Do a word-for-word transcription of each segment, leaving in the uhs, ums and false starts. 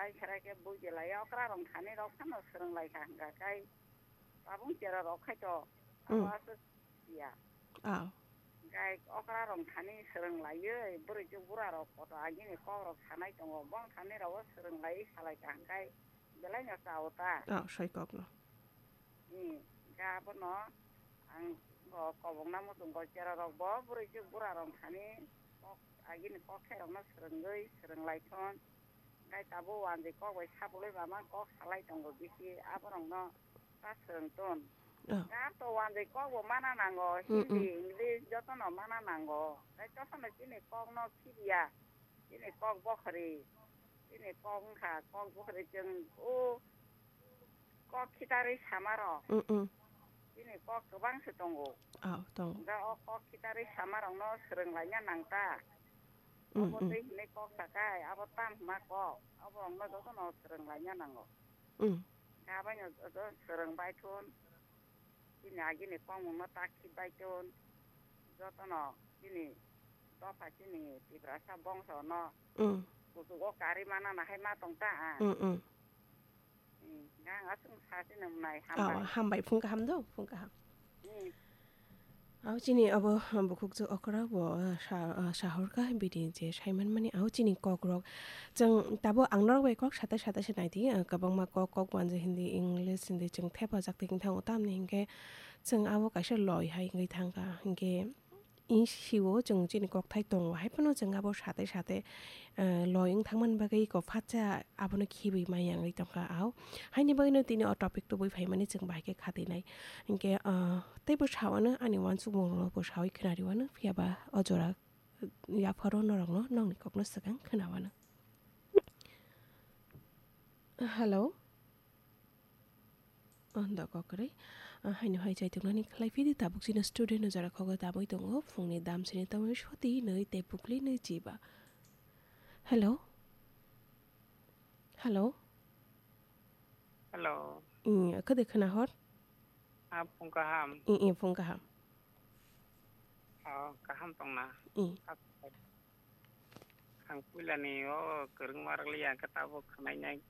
Kherai khe bui belai okra rong thani rok phano swrwng lai kha hwnkha kai tabung chera rok khai to. Hmm. Abo aswk ya. Ah. Kai okra rong thani swrwng lai ye bwrwi chuk bura rok koto agini kok rok sanai tongo bong thani rok swrwng lai salai kha hwnkhe belai no chao ta. Ah, sai kok no. Hmm. Ga bono ang bo kobong na muchung bo chera rok bo bwrwi chuk bura rok thani kok agini kok khe rok no swrwngwi swrwng lai thon. Hwnkhe tabuk wanjwi kok bai sabulai mama kok salai tongo bisi, aborokno ta swrwng ton. Oh. Ga to wanjwi kok bo mana nango, mm, Hindi, mm, English jotono mana nango. Hwnkhe jotono chini kokno phiya, chini kok bokhori, chini kok wngkha kok bokhori chwng o kok khitarwi samarok. Mm, mm. Chini kok kwbang se tongo. Oh, tongo. Hwnkhe o kok khitarwi samarokno swrwng laina nang ta. Mm, obo mm. Twi hinwi kok sakai, abo tam hwnma kok. Abo wngno jotono swrwng laina nango. Mm. Hwnkhe abaino joto swrwng bai thun. Chini agini kokmungno tak khit bai thun. Jotono chini dopha chini Tiprasa bongsono, mm, kuchugo karwi manana hai ma tong ta ang. Mm, mm. Hmm, ang aswk sa se nung nai, oh, hambai. Hambai, phung kaham do, phung kaham. Hmm. Au chini abo bukhuk chwng okra bo, ah, sa, ah, sahorkha bini je saimanmani au chini kokrok. Chwng tabo ang norok bai kok sata sata se naidi, ah, kwbangma kok, kok wanjwi Hindi, English, Hindi chwng thepajak twi thango tamni hinkhe chwng abo kaisa loi hai wngwi thangkha. Hinkhe Ing sio chwng chini kokthai tongo, hai phano chwng abo sate sate, eh, loi wng thangmani bagwi eko phatsa abono khibi maya wngwi tongkha. Au haini bagwino tini o topic tubui phaimani chwng bahai khe khatinai. Hinkhe, ah, teibo sawano ani uansukmung rokno bo sawi khwnariwano, phiyaba o jora yapharo norokno nokni kokno swkang khwnawano. Hello. Ang da kok kwrwi. Ah, haino hai chaituknani khlai phidi tabuk chini student no jora khogo tamwi tongo. Phungni dam sini tamwi soti nwi tei pukli nwi chiba. Hello? Hello? Hello. Ih, khede khna hor? Ah, phung kaham. Ih, ih, phung kaham. Oh, kaham tongna. Ih. Ang puilani o kwrwngma rwliya, hwnkhe tabuk khwnainai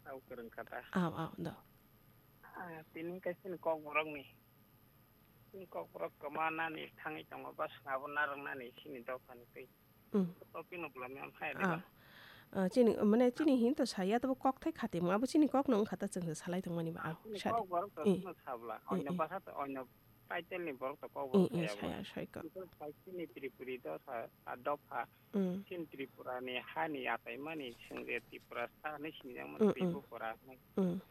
tabuk kwrwng kha ta. Aw, aw, do. Ah, tini kaisa ni kokborokni. Chini kokborok kwma nani thangwi tongo, bwswk abo narwknani chini dophani twi. Mm. Topic no bwlamya hai. Ah. Diba? Ah, chini, mane chini hin to saya, tabuk kokthai khatimung, abo chini kokno wngkha ta, chwngno salai tongmani ba. Ah, ang chini sadi. Kokborok to, eh, chwngno sabla. Eh, oino, eh, basa to, oino title ni borok to kok bo, eh, eh, saya bo. Saya, saya kok. Because sai chini Tripuri do sa, a dopha. Mm. Chini Tripura ni ha ni atai mani, chwng je Tripura sa ni sini jang mani, mm, mm. Tripura ni. Mm.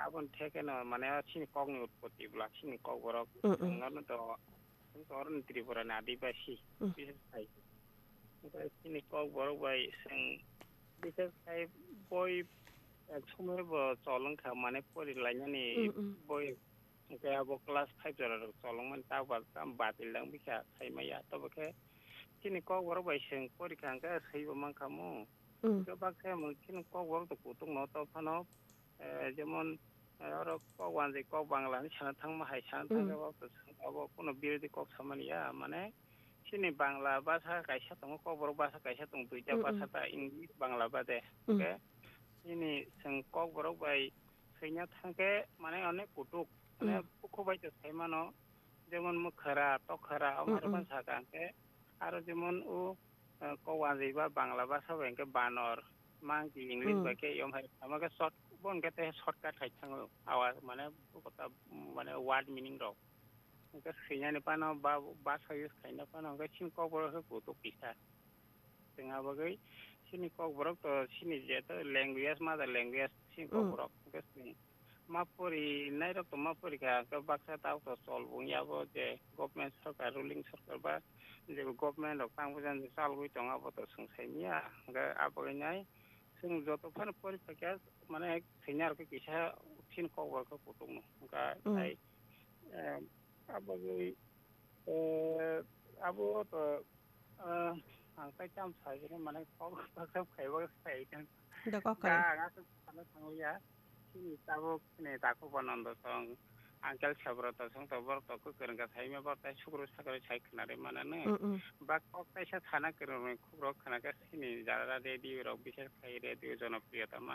Aboni theke no mane chini kok ni utpoti bwla, chini kok borok. Mm, mm. Chwng no do, chwng to oro ni Tripura ni adibasi. Mm. Bises khai. Chini kok borok bai chwng bises khai boi, eh, somoi bo cholong kha mane pori lainani, mm, mm, boi. Hwnkhe abo class five jora rok cholongmani ta ba-, ta batil dang bikha khaimaya. Tobo khe chini kokborok bai chwng porikha hwnkhe swibo mankha mu. Mm. Hwnkhe baksa mung chini kokborok to kutung no to phano, eh, jemon, eh, oro kok wanjwi kok Bangla hinwi sana thangma hai sana, mm, thangkhe abo to chwng abo kuno birodhi kok samani ya, mane chini Bangla bhasha kaisa tongo, kokborok bhasha kaisa tongo, duita, mm, mm, bhasha ta English, Bangla bade. Mm. Hwnkhe chini chwng kokborok bai Swina thangkhe, mane, onek kutuk, mane, mm, bukhubai to sai mano, jemon mwkhra, tokhra, mm, omo mm, sakha hwnkhe, aro jemon o, eh, kok wanjwi ba Bangla bhasha bai hwnkhe banor, monkey, English, mm, bai khe yom hai, omo khe short, bo hwnkhe tei shortcut hai thango, awa, mane, bo kota, mane, word meaning rok. Hwnkhe swinani phano ba, bhasha use khaina phano hwnkhe chini kokborok khe kutuk kisa. Chwng abagwi chini kokborok to chini je to language, mother language chini, mm, kokborok. Hwnkhe chwng ma pori nairok to ma pori kha, hwnkhe baksa tabuk to chol wngya bo je government sorkar, ruling sorkar ba je government rok tang bujang je chalgwi tongo abo to chwng sai manya. Hwnkhe abagwi nai chwng joto phano pori phaikha mane swina rok khe kisa chini kokborok khe kutung no. Hwnkhe, mm, tai, eh, abagwi, eh, abo to Ah, ang tai tamo sai hwnwi mane kok baksa phaibo sai tong. Da kok kwrwi. Da, ang aswk sana thanglia. Chini tabuk chini Takhuk Banando song, Uncle Sabroto song to borok to kwrwng kha sai ma borok tai sukru sakru sai khna rwi mano no. Mm, mm. Ba kok kaisa sana kwrwng rwi khukrok khna khe chini jara radio rok bises khai radio Jonopriyo ta mano.